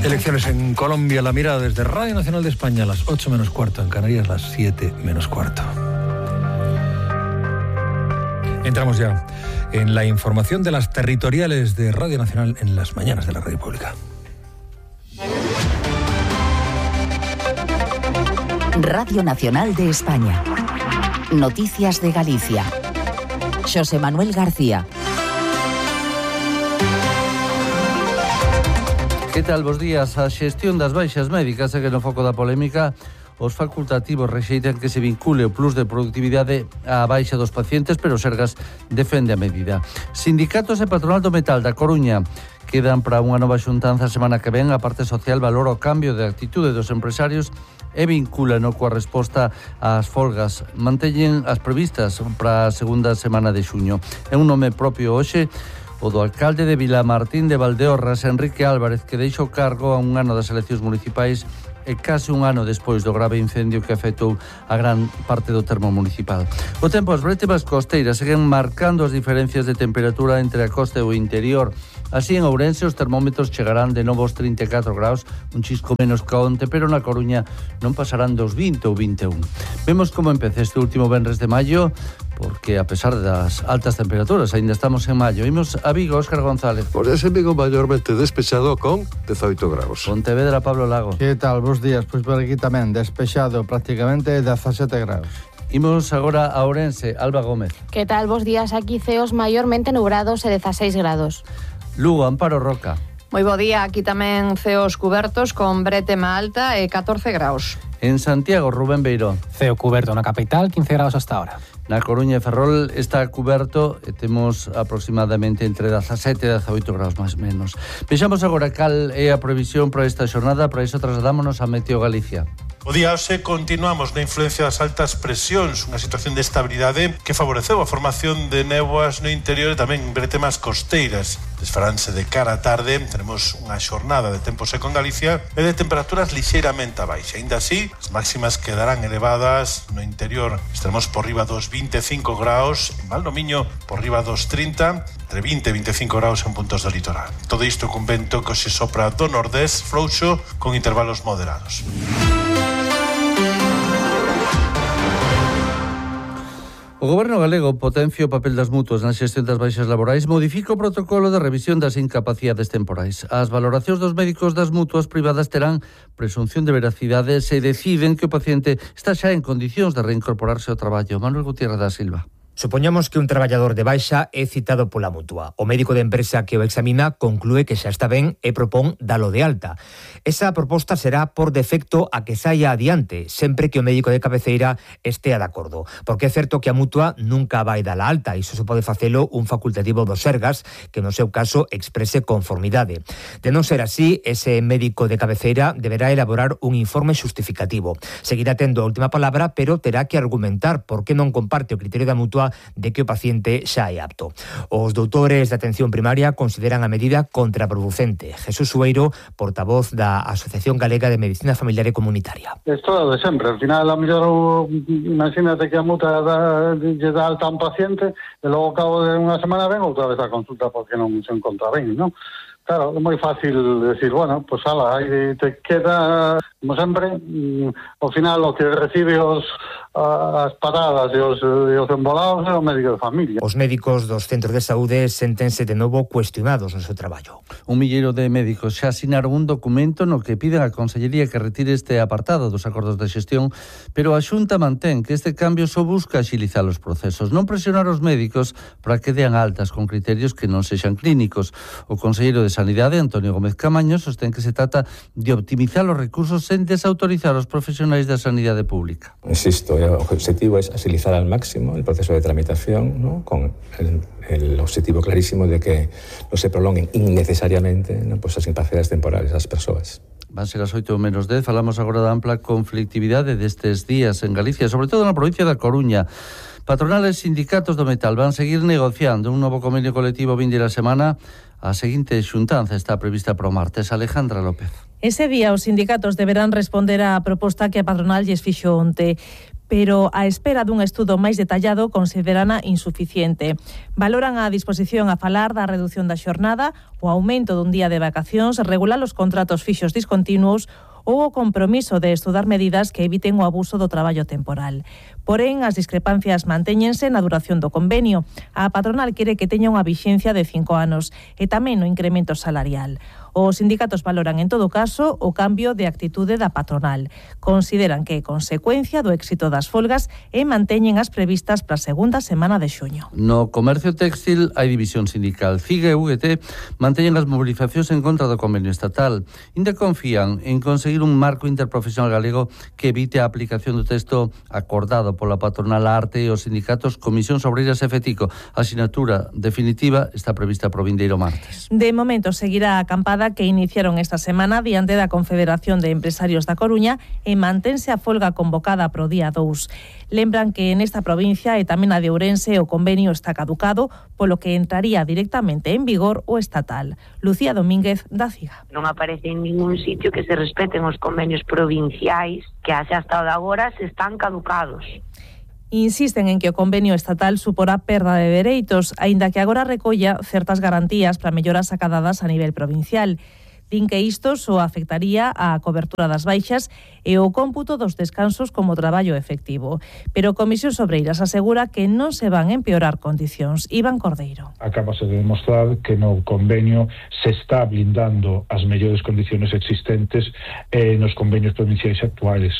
Elecciones en Colombia, la mirada desde Radio Nacional de España, a las 8 menos cuarto, en Canarias, las 7 menos cuarto. Entramos ya en la información de las territoriales de Radio Nacional en las mañanas de la Radio Pública. Radio Nacional de España. Noticias de Galicia. Xosé Manuel García. Que tal, bos días? A xestión das baixas médicas segue no foco da polémica. Os facultativos rexeitan que se vincule o plus de productividade á baixa dos pacientes, pero Sergas defende a medida. Sindicatos e patronal do metal da Coruña quedan para unha nova xuntanza a semana que ven. A parte social valora o cambio de actitude dos empresarios e vincúlano coa resposta ás folgas. Manteñen as previstas para a segunda semana de xuño. É un nome propio hoxe o do alcalde de Vilamartín de Valdeorras, Enrique Álvarez, que deixa o cargo a un ano das eleccións municipais e case un ano despois do grave incendio que afectou a gran parte do termo municipal. O tempo, as brétemas costeiras seguen marcando as diferencias de temperatura entre a costa e o interior. Así, en Ourense, os termómetros chegarán de novo aos 34 graus, un chisco menos que onte, pero na Coruña non pasarán dos 20 ou 21. Vemos como empeza este último venres de maio, porque a pesar das altas temperaturas, ainda estamos en maio. Imos a Vigo, Óscar González. Pois ese Vigo maiormente despexado con 18 graus. Pontevedra, Pablo Lago. Que tal, bos días? Pois por aquí tamén, despexado prácticamente 17 graus. Imos agora a Ourense, Alba Gómez. Que tal, bos días? Aquí ceos maiormente nubrados e 16 grados. Lugo, Amparo Roca. Moi bo día, aquí tamén ceos cubertos con brétema alta e 14 graus. En Santiago, Rubén Beirón. Ceo cuberto na capital, 15 graus hasta ahora. Na Coruña e Ferrol está cuberto e temos aproximadamente entre 17 e 18 graus máis menos. Vexamos agora cal é a previsión para esta xornada, para iso trasladámonos a Meteo Galicia. O día hoxe continuamos na influencia das altas presións, unha situación de estabilidade que favoreceu a formación de néboas no interior e tamén bretemas costeiras. Desfaránse de cara á tarde, teremos unha xornada de tempo seco en Galicia e de temperaturas lixeiramente abaixo. Ainda así, as máximas quedarán elevadas no interior. Estaremos por riba dos 25 graus, en Valdomiño por riba dos 30, entre 20 e 25 graus en puntos do litoral. Todo isto cun vento que se sopra do nordés frouxo con intervalos moderados. O Goberno galego potencia o papel das mutuas na xestión das baixas laborais, modifica o protocolo de revisión das incapacidades temporais. As valoracións dos médicos das mutuas privadas terán presunción de veracidade se deciden que o paciente está xa en condicións de reincorporarse ao traballo. Manuel Gutiérrez da Silva. Supoñamos que un traballador de baixa é citado pola mutua. O médico de empresa que o examina conclúe que xa está ben e propón dalo de alta. Esa proposta será por defecto a que saia adiante, sempre que o médico de cabeceira estea de acordo. Porque é certo que a mutua nunca vai dala alta, iso se pode facelo un facultativo do Sergas, que no seu caso exprese conformidade. De non ser así, ese médico de cabeceira deberá elaborar un informe justificativo. Seguirá tendo a última palabra, pero terá que argumentar por que non comparte o criterio da mutua de que o paciente xa é apto. Os doutores de atención primaria consideran a medida contraproducente. Jesús Sueiro, portavoz da Asociación Galega de Medicina Familiar e Comunitaria. Esto de sempre. Al final, a mellor, imagínate que a mutua lle dá alta a un paciente e logo ao cabo de unha semana ven outra vez a consulta porque non se encontra ben, non? Claro, é moi fácil decir, bueno, pues ala, aí te queda, como sempre, ao final o que recibe as paradas e os embolados é o médico de familia. Os médicos dos centros de saúde séntense de novo cuestionados no seu traballo. Un milleiro de médicos xa asinaron un documento no que piden á Consellería que retire este apartado dos acordos de xestión, pero a Xunta mantén que este cambio só busca axilizar os procesos, non presionar os médicos para que dean altas con criterios que non sexan clínicos. O conselleiro de Sanidade, Antonio Gómez Camaño, sostén que se trata de optimizar os recursos sen desautorizar os profesionais da sanidade pública. Insisto, el objetivo es agilizar al máximo el proceso de tramitación, ¿no? Con el objetivo clarísimo de que no se prolonguen innecesariamente, ¿no? Pues as incapacidades temporales das persoas. Van ser as 8 menos 10. Falamos agora da ampla conflictividade destes días en Galicia, sobre todo na provincia da Coruña. Patronales e sindicatos do metal van seguir negociando un novo convenio colectivo vindeira semana. A seguinte xuntanza está prevista para o martes. Alejandra López. Ese día os sindicatos deberán responder á proposta que a patronal lles fixo onte. pero a espera dun estudo máis detallado considerana insuficiente. Valoran a disposición a falar da reducción da xornada, o aumento dun día de vacacións, regular os contratos fixos discontinuos ou o compromiso de estudar medidas que eviten o abuso do traballo temporal. Porén, as discrepancias mantéñense na duración do convenio. A patronal quere que teña unha vixencia de 5 anos e tamén o incremento salarial. Os sindicatos valoran, en todo caso, o cambio de actitude da patronal. Consideran que é consecuencia do éxito das folgas e manteñen as previstas para a segunda semana de xuño. No comercio textil hai división sindical. CIG e UGT manteñen as movilizacións en contra do convenio estatal. Ainda confían en conseguir un marco interprofesional galego que evite a aplicación do texto acordado pola patronal Arte e os sindicatos Comisións Obreiras e FETICO. A sinatura definitiva está prevista para o vindeiro martes. De momento seguirá a acampada que iniciaron esta semana diante da Confederación de Empresarios da Coruña e mantense a folga convocada para o día 2. Lembran que nesta provincia e tamén a de Ourense o convenio está caducado, polo que entraría directamente en vigor o estatal. Lucía Domínguez, da CIGA. Non aparece en ningún sitio que se respeten os convenios provinciais que hasta agora se están caducados. Insisten en que o convenio estatal suporá perda de dereitos, aínda que agora recolla certas garantías para melloras acadadas a nivel provincial. Din que isto só afectaría a cobertura das baixas e o cómputo dos descansos como traballo efectivo. Pero Comisións Obreiras asegura que non se van empeorar condicións. Iván Cordeiro. Acabase de demostrar que no convenio se está blindando as mellores condicións existentes nos convenios provinciais actuales.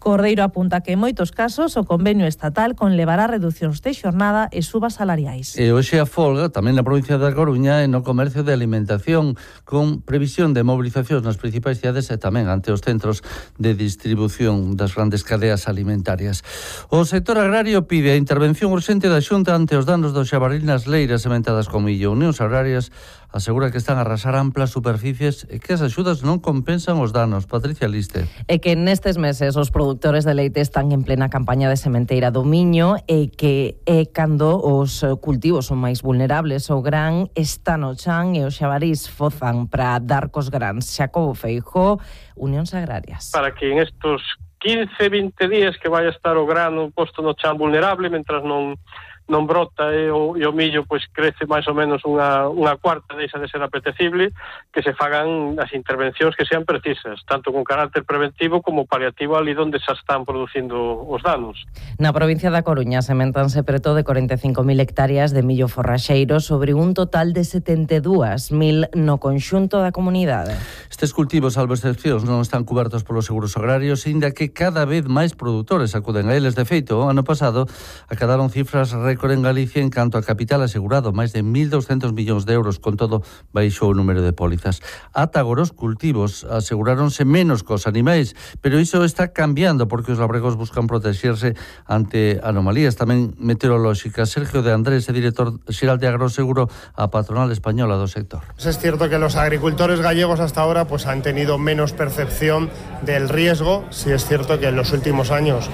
Cordeiro apunta que en moitos casos o convenio estatal conlevará reducións de xornada e subas salariais. E hoxe a folga tamén na provincia da Coruña e no comercio de alimentación, con previsión de movilizacións nas principais cidades e tamén ante os centros de distribución das grandes cadeas alimentarias. O sector agrario pide a intervención urxente da Xunta ante os danos do xabaril nas leiras sementadas con millo. Unións Agrarias asegura que están a arrasar amplas superficies e que as axudas non compensan os danos. Patricia Liste. E que nestes meses os produtores de leite están en plena campaña de sementeira do miño e que é cando os cultivos son máis vulnerables. O gran está no chan e os xabarís fozan para dar cos grans. Xacobo Feijóo, Unións Agrarias. Para que en estos 15-20 días que vai a estar o grano posto no chan vulnerable, mentras non brota e o millo pois crece máis ou menos unha cuarta, deixa de ser apetecible, que se fagan as intervencións que sean precisas, tanto con carácter preventivo como paliativo ali onde se están producindo os danos. Na provincia da Coruña sementanse preto de 45.000 hectáreas de millo forraxeiro sobre un total de 72.000 no conxunto da comunidade. Estes cultivos, salvo excepcións, non están cubertos polos seguros agrarios, inda que cada vez máis produtores acuden a eles. De feito, o ano pasado acadaron cifras récord en Galicia en canto a capital asegurado, máis de 1.200 millóns de euros, con todo baixou o número de pólizas. Ata agora os cultivos aseguráronse menos cos animais, pero iso está cambiando porque os labregos buscan protexerse ante anomalías tamén meteorolóxicas. Sergio de Andrés, director xeral de Agroseguro, a patronal española do sector. Es cierto que los agricultores gallegos hasta ahora pues han tenido menos percepción del riesgo. Sí es cierto que en los últimos años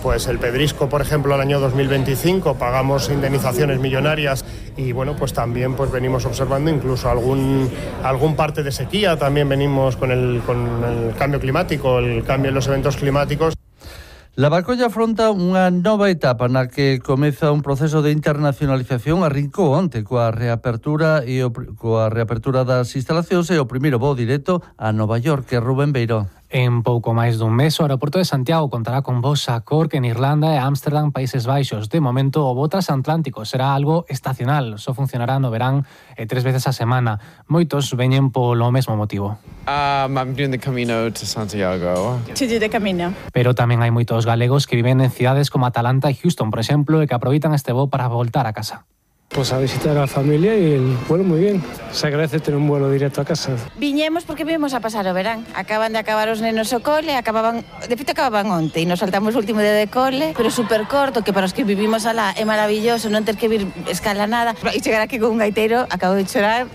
pues el pedrisco, por ejemplo, el año 2025 pagamos indemnizaciones millonarias y bueno, pues también pues venimos observando incluso algún parte de sequía, también venimos con el cambio climático, el cambio en los eventos climáticos. Lavacolla afronta unha nova etapa na que comeza un proceso de internacionalización. Arrincou onte coa reapertura das instalacións e o primeiro voo directo a Nova York, que é Rubén Beiró. En pouco máis dun mes, o aeroporto de Santiago contará con voos a Cork en Irlanda e Ámsterdam, Países Baixos. De momento, o voo transatlántico será algo estacional. Só funcionará no verán 3 veces a semana. Moitos veñen polo mesmo motivo. I'm doing the Camino to Santiago. To do the Camino. Pero tamén hai moitos galegos que viven en cidades como Atalanta e Houston, por exemplo, e que aproveitan este voo para voltar a casa. Pues a visitar a la familia y el vuelo muy bien. Se agradece tener un vuelo directo a casa. Viñemos porque vimos a pasar o verán. Acaban de acabar os nenos o cole, de feito acababan onte e nos saltamos o último día de cole, pero super corto, que para os que vivimos alá é maravilloso non ter que vir escala nada. E chegar aquí con un gaiteiro, acabo de chorar.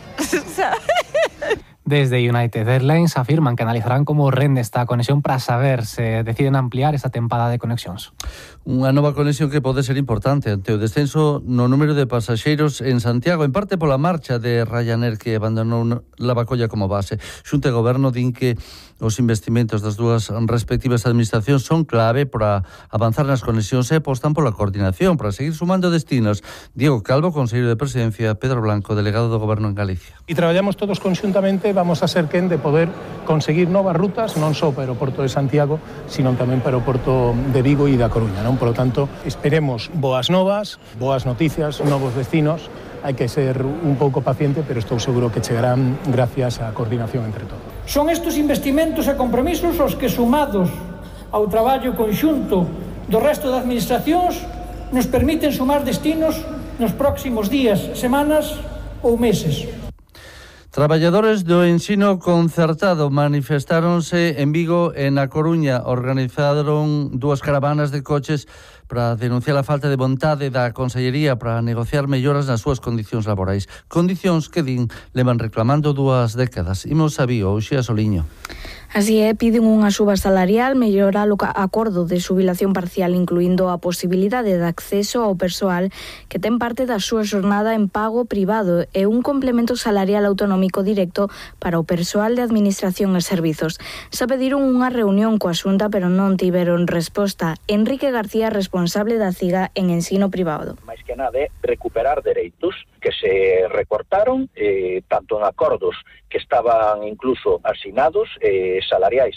Desde United Airlines afirman que analizarán como rende esta conexión para saber se deciden ampliar esta tempada de conexións. Unha nova conexión que pode ser importante ante o descenso no número de pasaxeiros en Santiago, en parte pola marcha de Ryanair que abandonou Lavacolla como base. Xunta e Goberno din que os investimentos das dúas respectivas administracións son clave para avanzar nas conexións e apostan pola coordinación para seguir sumando destinos. Diego Calvo, conselleiro de Presidencia, Pedro Blanco, delegado do Goberno en Galicia. E traballamos todos conxuntamente, vamos a ser quen de poder conseguir novas rutas, non só para o Porto de Santiago, sino tamén para o Porto de Vigo e da Coruña, non? Por lo tanto, esperemos boas novas, boas noticias, novos destinos. Hai que ser un pouco paciente, pero estou seguro que chegarán gracias á coordinación entre todos. Son estes investimentos e compromisos os que, sumados ao traballo conxunto do resto das administracións, nos permiten sumar destinos nos próximos días, semanas ou meses. Traballadores do ensino concertado manifestáronse en Vigo e na Coruña. Organizaron dúas caravanas de coches para denunciar a falta de vontade da Consellería para negociar melloras nas súas condicións laborais. Condicións que din levan reclamando 2 décadas. Imos a Vigo, Uxía Soliño. Así é, piden unha suba salarial, mellorar o acordo de xubilación parcial, incluindo a posibilidade de acceso ao persoal que ten parte da súa xornada en pago privado e un complemento salarial autonómico directo para o persoal de administración e servizos. Xa pediron unha reunión coa Xunta, pero non tiveron resposta. Enrique García, responsable da CIGA en ensino privado. Mais que nada é recuperar dereitos que se recortaron tanto en acordos que estaban incluso asinados salariais